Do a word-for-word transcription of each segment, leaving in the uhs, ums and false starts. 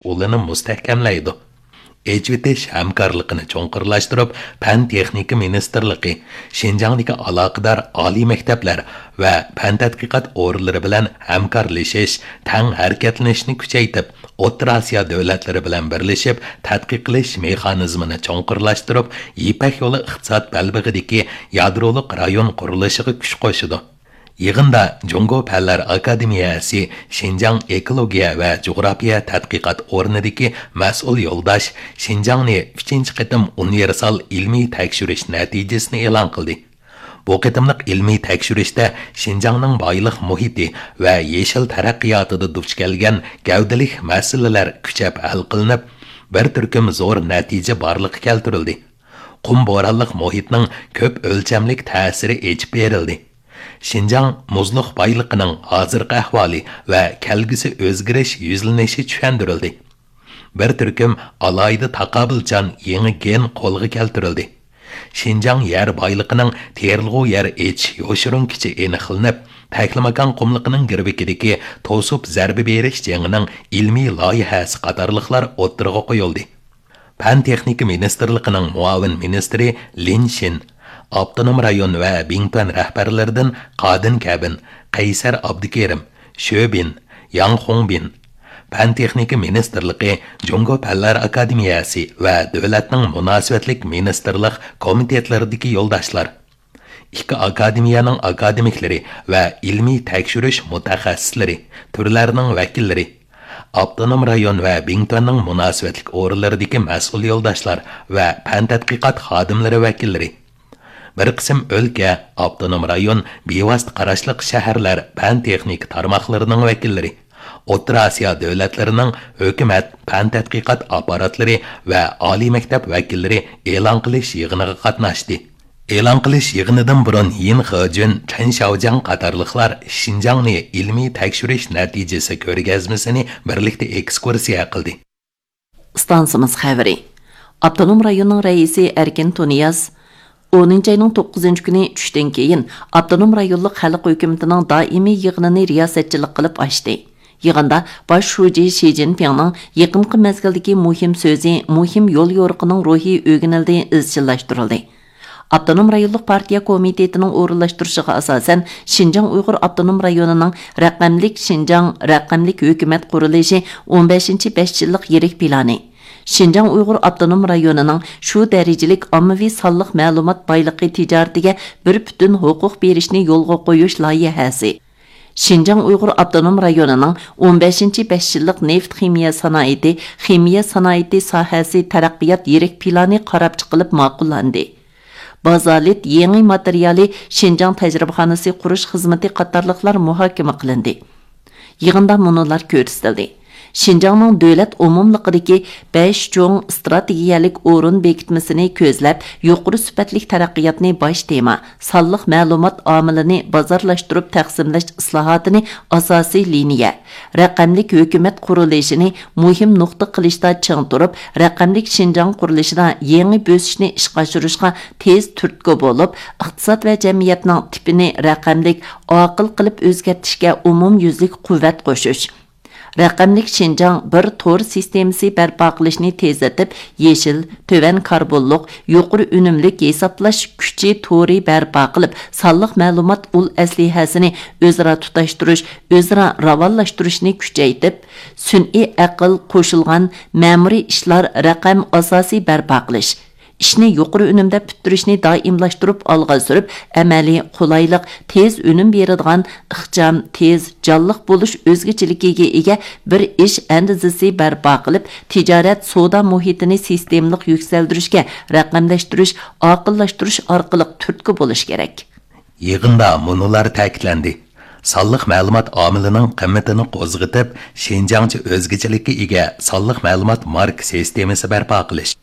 ئۇلىنى مۇستەھكەملەيدۇ. ئېچىۋېتىش ھەمكارلىقىنى چوڭقۇرلاشتۇرۇپ، پەن تېخنىكا مىنىستىرلىقى، شىنجاڭدىكى ئالاقىدار ئالىي مەكتەپلەر ۋە پەن تەتقىقات ئورۇنلىرى بىلەن ھەمكارلىشىش، تەڭ ھەرىكەتلىنىشنى كۈچەيتىپ، ئوتتۇرا ئاسىيا دۆلەتلىرى بىلەن بىرلىشىپ، تەتقىق قىلىش مېخانىزمىنى چوڭقۇرلاشتۇرۇپ، يىپەك يولى ئىقتىساد بەلبېغىدىكى يادرولۇق رايون قۇرۇلۇشىغا كۈچ قوشىدۇ. يىغىندا جۇڭگو پەنلەر ئاكادېمىيەسى شىنجاڭ ئېكولوگىيە ۋە جۇغراپىيە تەتقىقات ئورنىدىكى مەسئۇل يولداش شىنجاڭنى ئۈچىنچى قېتىم ئۇنىۋېرسال ئىلمىي تەكشۈرۈش نەتىجىسىنى ئېلان قىلدى. بۇ قېتىملىق ئىلمىي تەكشۈرۈشتە شىنجاڭنىڭ بايلىق مۇھىتى ۋە يېشىل تەرەققىياتىدا دۇچ كەلگەن گەۋدىلىك مەسىلىلەر كۈچەپ ھەل قىلىنىپ، بىر تۈركۈم زور نەتىجە بارلىققا كەلتۈرۈلدى. قۇم بورانلىق مۇھىتنىڭ كۆپ ئۆلچەملىك تەسىرى ئېچىپ بېرىلدى. شىنجاڭ مۇزلۇق بايلىقىنىڭ ھازىرقى ئەھۋالى ۋە كەلگۈسى ئۆزگىرىش يۈزلىنىشى چۈشەندۈرۈلدى. بىر تۈركۈم ئالاھىدە تاقابىلچان يېڭى گېن قولغا كەلتۈرۈلدى. شىنجاڭ يەر بايلىقىنىڭ تېرىلغۇ يەر ئېچىش يوشۇرۇن كۈچى ئېنىقلىنىپ، تەكلىماكان قۇملۇقىنىڭ گىرۋىكىدىكى توسۇپ زەربە بېرىش جېڭىنىڭ ئىلمىي لايىھەسى قاتارلىقلار ئوتتۇرىغا قويۇلدى. پەن تېخنىكا مىنىستىرلىقىنىڭ مۇئاۋىن مىنىستىرى لىن شىن، ئاپتونوم رايون ۋە بىڭتۈەن رەھبەرلىرىدىن قادىن كەبىن، قەيسەر ئابدۇكېرىم، شۆ بىن، ياڭ خۇڭبىن، پەن تېخنىكا مىنىستىرلىقى، جۇڭگو پەنلەر ئاكادېمىيەسى ۋە دۆلەتنىڭ مۇناسىۋەتلىك مىنىستىرلىق كومىتېتلىرىدىكى يولداشلار، ئىككى ئاكادېمىيەنىڭ ئاكادېمىكلىرى ۋە ئىلمىي تەكشۈرۈش مۇتەخەسسىسلىرى، تۈرلەرنىڭ ۋەكىللىرى، ئاپتونوم رايون ۋە بىڭتۈەننىڭ مۇناسىۋەتلىك ئورۇنلىرىدىكى مەسئۇل يولداشلار ۋە پەن تەتقىقات خادىملىرى ۋەكىللىرى، بىر قىسىم ئۆلكە، ئاپتونوم رايون، بىۋاسىتە قاراشلىق شەھەرلەر پەن تېخنىكا تارماقلىرىنىڭ ۋەكىللىرى، ئوتتۇرا ئاسىيا دۆلەتلىرىنىڭ ھۆكۈمەت، پەن تەتقىقات ئاپپاراتلىرى ۋە ئالىي مەكتەپ ۋەكىللىرى ئېلان قىلىش يىغىنىغا قاتناشتى. ئېلان قىلىش يىغىنىدىن بۇرۇن يىن خېجۈن، چېن شياۋجياڭ قاتارلىقلار شىنجاڭنى ئىلمىي تەكشۈرۈش نەتىجىسى كۆرگەزمىسىنى بىرلىكتە ئېكسكۇرسىيە قىلدى. ئىستانسىمىز خەۋىرى. ئاپتونوم رايوننىڭ رەئىسى ئەركىن تۇنىياز ئونىنچى ئاينىڭ توققۇزىنچى كۈنى چۈشتىن كېيىن ئاپتونوم رايونلۇق خەلق ھۆكۈمىتىنىڭ دائىمىي يىغىنىنى رىياسەتچىلىك قىلىپ ئاچتى. يىغىندا باش شۇجى شى جىنپىڭنىڭ يېقىنقى مەزگىلدىكى مۇھىم سۆزى، مۇھىم يول يورۇقىنىڭ روھى ئۆگىنىلدى، ئىزچىللاشتۇرۇلدى. ئاپتونوم رايونلۇق پارتىيە كومىتېتىنىڭ ئورۇنلاشتۇرۇشىغا ئاساسەن، شىنجاڭ ئۇيغۇر ئاپتونوم رايونىنىڭ رەقەملىك شىنجاڭ، رەقەملىك ھۆكۈمەت قۇرۇلۇشى ئون بەشىنچى بەش يىللىق يىرىك پىلانى، شىنجاڭ ئۇيغۇر ئاپتونوم رايونىنىڭ شۇ دەرىجىلىك ئاممىۋى سانلىق مەلۇمات بايلىقى تىجارىتىگە بىر پۈتۈن ھوقۇق بېرىشنى يولغا قويۇش لايىھەسى، شىنجاڭ ئۇيغۇر ئاپتونوم رايونىنىڭ ئون بەشىنچى بەش يىللىق نېفىت خىمىيە سانائىتى، خىمىيە سانائىتى ساھەسى تەرەققىيات يىرىك پىلانى قاراپ چىقىلىپ ماقۇللاندى. بازالىت يېڭى ماتېرىيالى شىنجاڭ تەجرىبىخانىسى قۇرۇش خىزمىتى قاتارلىقلار مۇھاكىمە قىلىندى. يىغىندا مۇنۇلار كۆرسىتىلدى. شىنجاڭنىڭ دۆلەت ئومۇملۇقىدىكى بەش چوڭ ئىستراتېگىيەلىك ئورۇن بېكىتمىسىنى كۆزلەپ، يۇقىرى سۈپەتلىك تەرەققىياتنى باش تېما، سانلىق مەلۇمات ئامىلىنى بازارلاشتۇرۇپ تەقسىملەش ئىسلاھاتىنى ئاساسىي لىنىيە، رەقەملىك ھۆكۈمەت قۇرۇلۇشىنى مۇھىم نۇقتا قىلىشتا چىڭ تۇرۇپ، رەقەملىك شىنجاڭ قۇرۇلۇشىدا يېڭى بۆسۈشنى ئىشقا ئاشۇرۇشقا تېز تۈرتكە بولۇپ، ئىقتىساد ۋە جەمئىيەتنىڭ تىپىنى رەقەملىك، ئاقىل قىلىپ ئۆزگەرتىشكە ئومۇميۈزلۈك قۇۋۋەت قوشۇش، رەقەملىك شىنجاڭ بىر تور سىستېمىسى بەرپا قىلىشنى تېزلىتىپ، يېشىل، تۆۋەن كاربونلۇق، يۇقىرى ئۈنۈملۈك ھېسابلاش كۈچى تورى بەرپا قىلىپ، سانلىق مەلۇمات ئۇل ئەسلىھەسىنى ئۆزئارا تۇتاشتۇرۇش، ئۆزئارا راۋانلاشتۇرۇشنى كۈچەيتىپ، سۈنئىي ئەقىل، قوشۇلغان مەمۇرىي ئىشلار رەقەم ئاساسى بەرپا قىلىش، ئىشنى يۇقىرى ئۈنۈمدە پۈتتۈرۈشنى دائىملاشتۇرۇپ ئالغا سۈرۈپ، ئەمەلىي، قولايلىق، تېز ئۈنۈم بېرىدىغان، ئىخچام، تېز، جانلىق بولۇش ئۆزگىچىلىكىگە ئىگە بىر ئىش ئەندىزىسى بەرپا قىلىپ، تىجارەت، سودا مۇھىتىنى سىستېمىلىق يۈكسەلدۈرۈشكە، رەقەملەشتۈرۈش، ئاقىللاشتۇرۇش ئارقىلىق تۈرتكە بولۇش كېرەك. يىغىندا مۇنۇلار تەكىتلەندى: سانلىق مەلۇمات ئامىلىنىڭ قىممىتىنى قوزغىتىپ، شىنجاڭچە ئۆزگىچىلىككە ئىگە سانلىق مەلۇمات ماركا سىستېمىسى بەرپا قىلىش،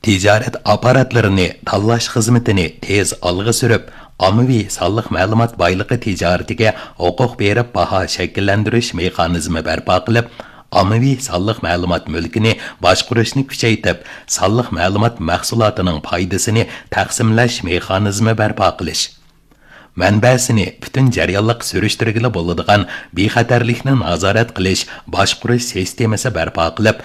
تىجارەت ئاپپاراتلىرىنى تاللاش خىزمىتىنى تېز ئالغا سۈرۈپ، ئاممىۋى سانلىق مەلۇمات بايلىقى تىجارىتىگە ھوقۇق بېرىپ باھا شەكىللەندۈرۈش مېخانىزمى بەرپا قىلىپ، ئاممىۋى سانلىق مەلۇمات مۈلكىنى باشقۇرۇشنى كۈچەيتىپ، سانلىق مەلۇمات مەھسۇلاتىنىڭ پايدىسىنى تەقسىملەش مېخانىزمى بەرپا قىلىش. مەنبەسىنى پۈتۈن جەريانلىق سۈرۈشتۈرگىلى بولىدىغان بىخەتەرلىكنى نازارەت قىلىش، باشقۇرۇش سىستېمىسى بەرپا قىلىپ،